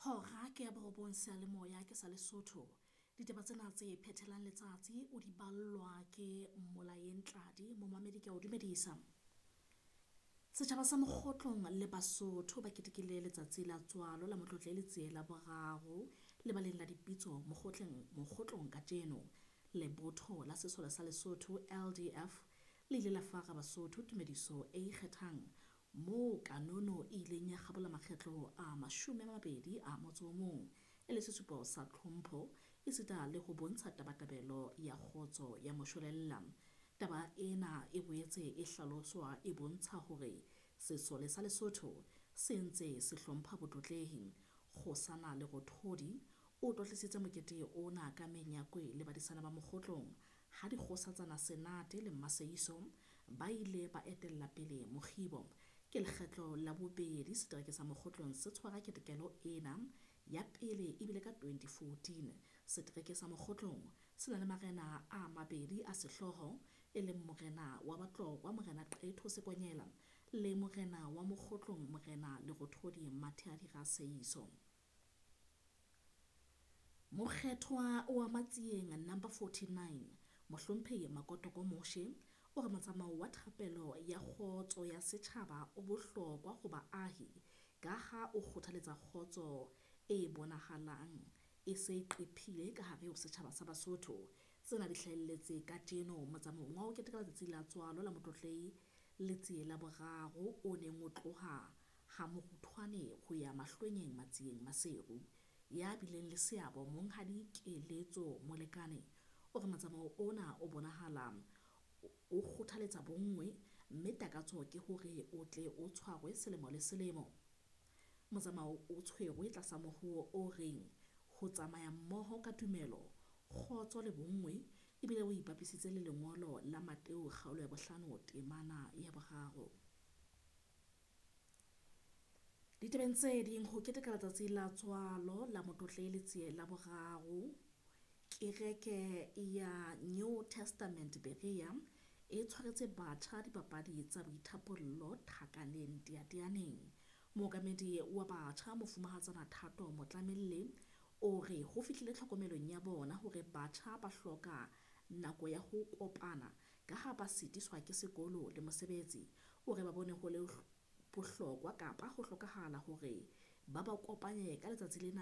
Hora ke ya borobong seyalemoya ke sa Lesotho. Ditaba tsena tse phethelang letsatsi o di ballwa ke Mmolayeng Tladi, momamedi ke a o dumedisa. Setjhaba sa Mokgotlong le Basotho ba ketekile letsatsi la tswalo la Motlotlehi Letsie la boraro lebaleng la dipitso Mokgotleng Mokgotlong kajeno. Lebotho la Sesole sa Lesotho LDF le ile la fara Basotho tumediso e ikgethang moo kanono e ileng ya kgabola makgetlo a 21 e le sesupo sa tlhompho esita le ho bontsha tabatabelo ya kgotso ya moshwelella. Taba ena e boetse e hlaloswa e bontsha hore sesole sa Lesotho se ntse se hlompha botlotlehi. Kgosana Lerothodi o tlotlisitse mokete ona ka menyakwe le badisana ba Mokgotlong ha dikgosatsana Senate le Mmaseiso ba ile ba etella pele mokgibo. Ke lekgetlo la bobedi setereke sa Mokgotlong se tshwara ketekelo ena, ya pele ebile ka 2014. Setereke sa Mokgotlong se na le marena a mabedi a sehlooho, e leng morena wa Batlokwa Morena Qetho Sekonyela le morena wa Mokgotlong Morena Lerothodi Matheadira Seiso. Mokgethwa wa Matsieng number 49 Mohlomphehi Makotoko Moshe o re motsamao wa thapelo ya kgotso ya setjhaba o bohlokwa ho baahi ka ha o kgothaletsa kgotso e bonahalang e se e qephile ka hare ho setjhaba sa Basotho. Tsena di hlahelletse kajeno motsamaong wa ho keteka letsatsi la tswalo la Motlotlehi Letsie la boraro o neng o tloha ha Moruthwane ho ya Mahlwenyeng Matsieng Maseru. Ya bileng le seabo Monghadi Keletso Molekane o re motsamao ona o bonahala o kgothaletsa bonngwe mme takatso ke hore o tle o tshwarwe selemo le selemo. Motsamao o tshwerwe tlasa mohuo o reng ho tsamaya mmoho ka tumelo, kgotso le bonngwe, ebile o ipapisitse le lengolo la Mateo kgaolo ya 5 temana ya 3. Ditabeng tse ding, ho keteka letsatsi la tswalo la Motlotlehi Letsie la boraro, kereke ya New Testament Berea e tshwaretse batjha dipapadi tsa boithapollo Thakaneng Teyateyaneng. Mookamedi wa batjha Mofumahatsana Thato Motlamelle o re ho fihlile tlhokomelong ya bona hore batjha ba hloka nako ya ho kopana ka ha ba sitiswa ke sekolo le mosebetsi. O re ba bone ho le bohlokwa kapa ho hlokahala hore ba ba kopanye ka letsatsi lena.